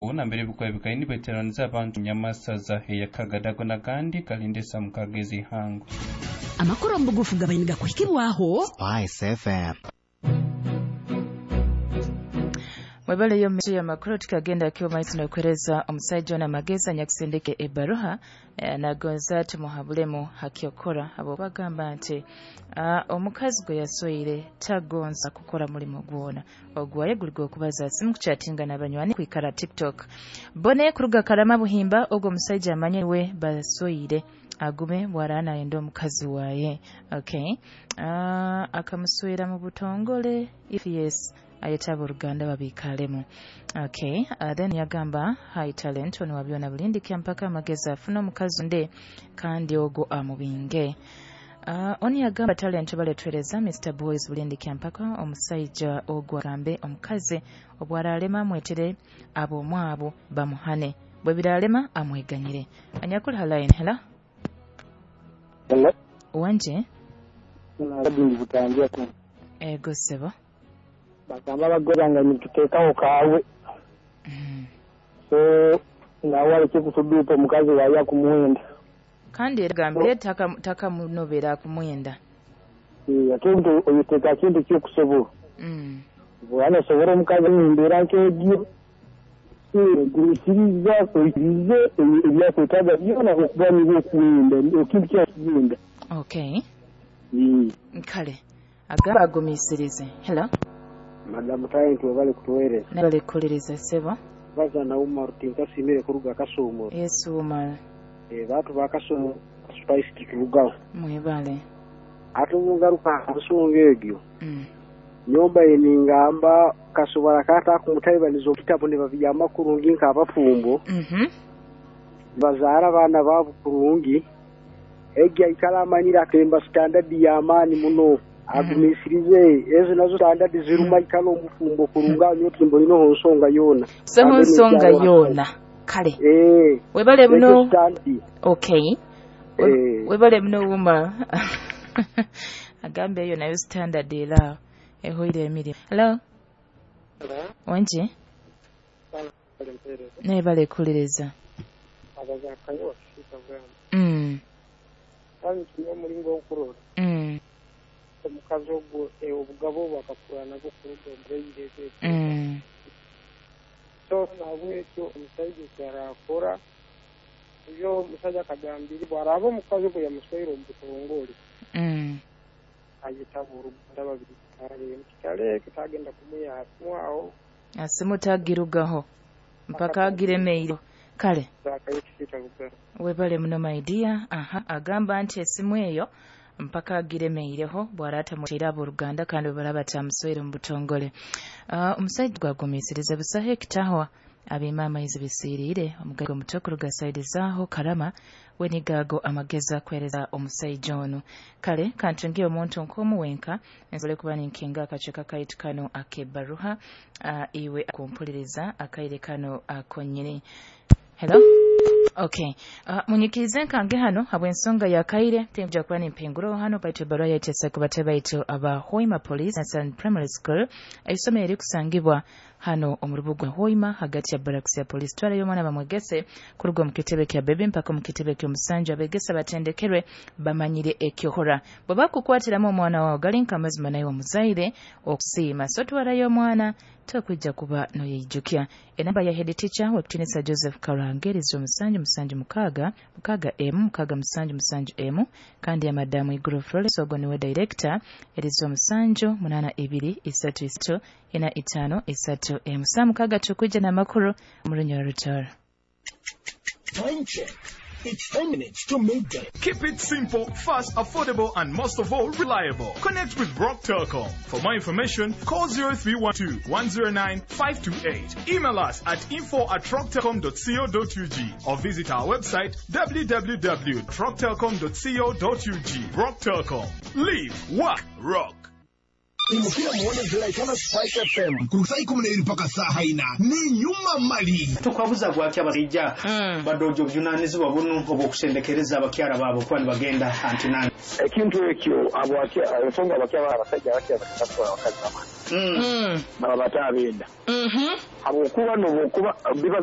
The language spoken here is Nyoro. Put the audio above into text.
Nambere bikwaye nibeteraniza abantu nyamasaza eyakagadago nagandi kalindesa mukagezi ihango. Amakuru omubugufu gabainiga kuhikibwaho Spice FM. Mwebale yo mmeso ya makuru tukagenda kiwa maiso na kueleza omusajja ono amagezi anyakusindika ebbaruha nagonza tumuhabulemu hakyokora abo bagamba nti omukazi gwe yasweire tagonza kukora mulimo gwona ogwaye guli gw'okubaza simu kuchatinga n'abanywani kwikara TikTok. Bone kuruga Karama Buhimba ogwo omusajja amanye we basweire agume bwarana ayenda omukazi waye. Okay, akamuswera mu butongole if yes ayetaba oluganda babikalemu. Okay, then yagamba hi talent ono wabyona bulindikya mpaka amagezi afuna omukazi nde kandi ogwo amubinge. Oni yagamba talent baletwereza Mr Boys bulindikya mpaka omusajja ogwo agambe omukazi obwaralema amwetere ab'omwabo bamuhane bwe biralema amweganyire. Anyakula line. Hello. Hello. Wanje. Nabindi butangira ku. Ego sebo. Bagamba abagore nituteekawo kaawe. So nawe aleke kusuduupa omukazi waye akumuwenda. Kandi era gambire takamunobera akumuwenda. Ate nti oyoteeka kintu kyokusobola. Bwana osobola omukazi mu mbeera nk'egyo gumisiriza oyikirize ebyakwetaaga byona okuba niba okuwenda ekintu kyakugenda. Okay. Kale agamba agumisirize. Hello. Madamu Talent webale kutuweereza. Nabale kukuliriza ssebo. Baza na Umar tinkasimire kuruga Kasumu. Yes Umar. Bantu ba Kasumu Spice tuturugaho. Mwebale. Ate ngaruka nsonga egyo. Nyomba eningamba kasobora kata kumutaibaniza okitabo ne babiyama kurungi nk'abafumbo. Bazaara abaana baabo kurungi. Egyo aikala amanyira atemba standard y'amaani muno. Agumisirize ezo nazo standard ziruma ikalo omufumbo kurunga nyotimbo lino nsonga yona. So nsonga yona. Kale. Webale muno. Okay. Webale muno Umar. Agambe eyo nayo standard era ehoire emirimu. Hello. Hello. Wanje. Nebale kuliriza. Abazakayo bashika bwana. Kandi kiyo mulingo okurora. Omukazi ogwo obugabo bakakura nabwo kuruga omubeyireze. So nabwekyo omusajja kyarakora ebyo omusajja akagambire bwaraba omukazi ogwo yamusweire omu butongole. Ayetaba oruganda babiri kale kitale kitagenda kumuyasmwaho asimutagirugaho mpaka agiremeire. Kale webale muno my dear. Aha, agamba nti esimu eyo mpaka agiremeireho bwarata mutera abooluganda kandi bwe tamuswere mu butongole. Omusajja gwagumiisiriza busaho ekitahwa abiima amaizi bisiiriire omugaiga omuto kuruga saidi zaaho Karama wenigaago amagezi akwereza omusajja ono. Kale kantungiye omuntu nk'omuwenka nsobole kuba ninkinga akacweka kaitu kano ak'ebbaruha iwe akumpuliriza akaire kano akonyini. Hello. Okay. Munyikirize nkange hano habw'ensonga ya kaire tinja kuba nimpinguro hano baitu ebbaruha yaitesa ku bate baitu aba Hoima Police and Primary School eisomero erikusangibwa hano omu rubuga Hoima hagati ya barracks ya police. Twalayo omwana bamwegese kuruga omu kitebe kya bebe mpaka omu kitebe ky'omusanja abegesa batendekerwe bamanyire ekyohora. Bwe bakukwatiramu omwana wawe gali nk'amazima naye omuzaire okusiima. So twalayo omwana tokwijja kuba noyeijukya. Enamba ya head teacher wekutinisa Joseph Karangeri 07 7 6 6 M 6 7 7 M kandi ya madamu Iguru Flores ogwo niwe director eri 07 8 2 3 3 4 5 3 M. Saa 6 tukwijja n'amakuru mu Runyoro Rutoro. Time check. It's 10 minutes to midday. Keep it simple, fast, affordable, and most of all, reliable. Connect with Rock Telecom. For more information, call 0312 109 528. Email us at info@rocktelecom.co.ug or visit our website www.rocktelecom.co.ug. Rock Telecom. Live, work, rock. Imukira muone ziraikana Spice FM ku saa 12 mpaka saa 4 ni nyuma mali. Tukwabuza gwaki abasajja badojo obuvunanyizibwa buno obw'okusendekereza abakyala baabwe kuba nibagenda antinani. Ekintu ekyo ensonga abakyala abasajja abakyala batwala abakazi baba baba bataabenda. Habwokuba nobokuba biba